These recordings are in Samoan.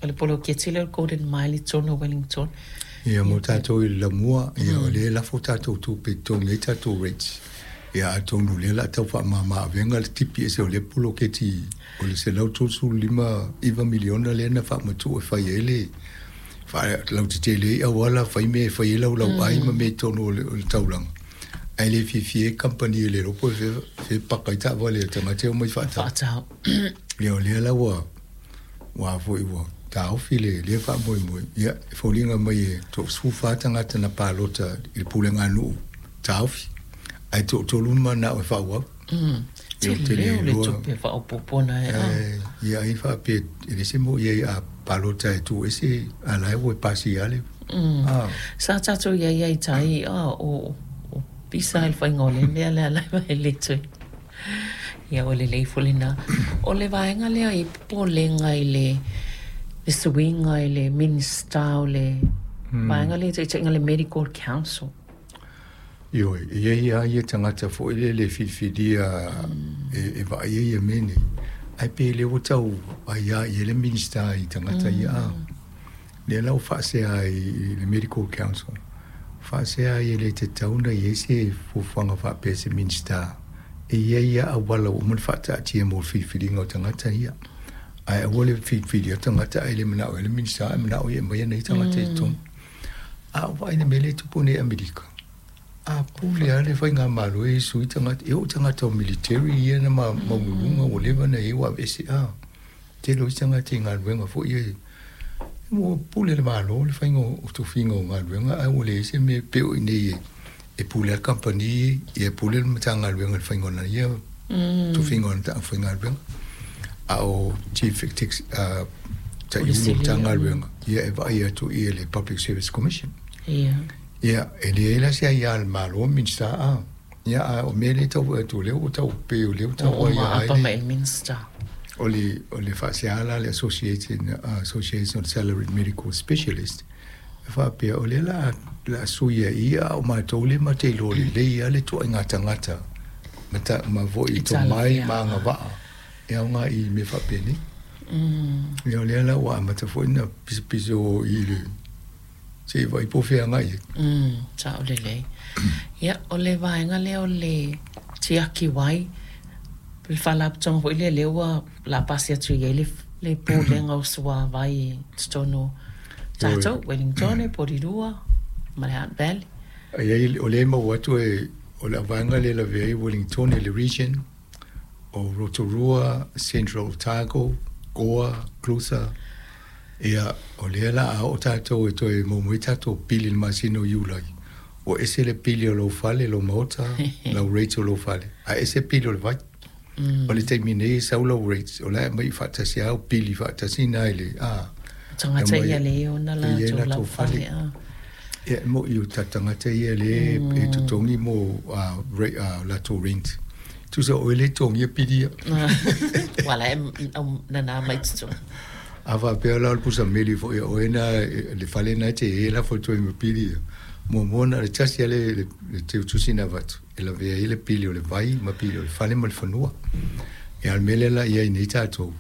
O le poloketi lea o le Golden Mile i totonu o Wellington. Ia, mo tatou i le lamua, ia, o lea e lafo tatou tupe e totogi ai tatou rates. Ia, atonu o lea o le a tau faamama avega le tipi ese o lea poloketi o le $139 miliona lea na faamatuu e fai ai le faalautetele ai auala, fai mea e fai ai laulauai ma mea i totonu o le taulaga. Ae le fiafia ai kamupani e le iloa po o fea e paka ai taavale a tagata e omai faatau. Ia, o lea la ua ua foi ua taofi le lea faamoemoe. Ia, e foliga mai e toa-14 tagata na palota i le pulega a nuu taofi, ae toatolu na mananao e faaauau. Tele o le tupe faaopoopo na e a. Ia, ai faapea e leai se mea o i ai a palota e tuu ese, a la e ua pasi lava le. Sa tatou i ai ai tai o pisa i le faiga o le mea lea la e le toe. Ia ua lelei foi lena. O le vaega lea i popolega i le suiga i le Minisita o le vaega lea i taitaiga le Medical Council. Ioe, e i ai lava ia tagata foi lele e filifilia e vaaia ia mea nei, ae pei lea ua tau aia i ai le Minisita i tagata ia a. Lea la ua faasea ai i le Medical Council, faasea ai e le tatau ona i ai se fuafuaga faapea se Minisita e i ai lava auala ua uma ona faataatia mo le filifiliga o tagata ia. Ae aua le filifilia o tagata ae le manao ai le Minisita ae manao ia e aumai ana ia tagata i totonu. A o vaai i le mea lea e tupu nei i Amerika, a pule lava le faigamalo e sui tagata, e oo i tagata o military ia na maualuluga ua leva ona i ai ua aveese. A tele o isi tagata i galuega foi ia, ua pule le Malo le faiga o tofiga o galuega, ae ua leai se mea pei o i inei e pule lava le kamupani, ia e pule le Matagaluega i le faiga o lana ia tofiga o lana aufaigaluega. A o Chief Taitaifono o Matagaluega, ia e vaai atu i le Public Service Commission. Ia, e leai la se aia a le Malo, Minisita, a. Ia, a o mea lea e tau vaai atu, o lea ua tau pei o lea ua tau aia ai le. Mai le Minisita. O le, o le faasea la a le Association, Association of Salaried Medical Specialists, e faapea, o lea la a sui ai ia, a o matou lea matou te iloa lelei lava le ituaiga tagata ma, ta, ma foi tomai ma agavaa e aoga i mea faapenei. Ia, o lea la ua amata foi ona pisopiso i le Se i vaai po o fea agai ai. Sao lelei. Ia, o le vaega lea o le tiaki wai, le faalapotopotoga foi lea, lea ua la pasi atu i ai le, le Pulega o Suavai i totonu o tatou, Wellingtone, Porirua ma le Hutt Valley. O lea e maua atu e, o le vaega lea e lavea ai Wellingtone i le region, o Rotorua, Central Otago, Goa, Clutha, ia, o lea la a oo tatou e toe maua mai tatou pili i le masina o Iulai, ua ese le pili o lou fale, lou maota, lau rates o lou fale, ae ese pili o le vai. O le taimi nei e sau lau rates, o la e aumai faatasi lava au pili faatasi na i le, a. O tagata ia lea e ona latou lau fale, a. Ia, e moni o tatou tagata ia lea e totogi mo latou rent. Tusa o oe lea e totogia pili ia. Ua la e nana mai totonu. A faapea la o le pusa meli foi a oe na, le fale na e te i ai e lafo atu ai ma pili ia. Muamua na o le tasi lava le teutusi na avatu e lavea ai le pili o le vai ma pili o le fale ma le fanua. Ia a o le mea lea la i ai nei tatou,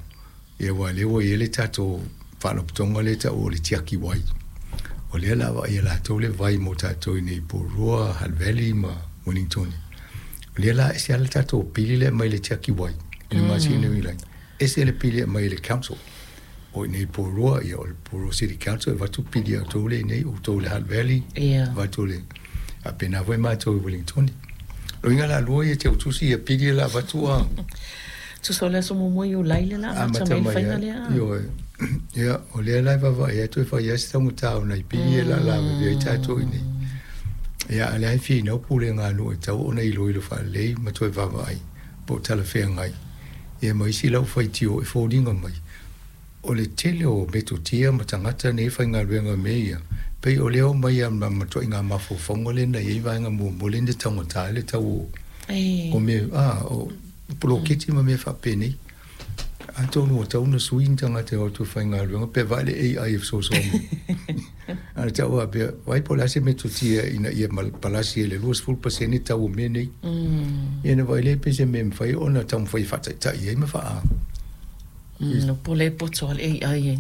Ia aua o lea ua i ai le tatou faalapotopotoga lea e taua o le tiaki wai. O lea o le a vaaia e latou le vai mo tatou i inei i Porirua, Hutt Valley ma Wellingtone. O lea la ese lava le tatou pili lea e aumai i le tiaki wai i le masina o Iulai, ese le pili e aumai e le council. O i inei i Porirua, ia o le Porirua City Council e avatu pili a outou lea i inei, outou i le Hutt Valley, avatu le faapena foi matou i Wellingtone. O lona uiga la lua ia teutusi ia pili la avatu a. Tusa o le aso muamua o Iulai lea la amata mai le faiga lea. Ioe. Ia, o lea la e vaavaai atu e fai lava si taugata o nai pili e laalavevea ai tatou i inei. Ia, a o lea e finau pulega a nuu e tatau ona iloilo faalelei ma toe vaavaai po o talafeagai. Ia ma isi lau faitio e foliga mai o le tele o metotia ma tagata nei e faigaluega i mea ia, pei o lea e omai lava ma matuaiga mafaufauga lea na i ai vaega muamua lea na taugata ai le tau o mea, a, o poloketi ma mea faapenei. Atonu ua tatau ona sui ni tagata e o atu e faigaluega pe vaai le AI e fesoasoani mai. A o le tau faapea, vaai po o le a se metotia ina ia palasi ai le 20% tau o mea nei. Ia ona vaai lea pe se mea e mafai ona taumafai e faataitai ai ma faa... Po o le poto a le AI e.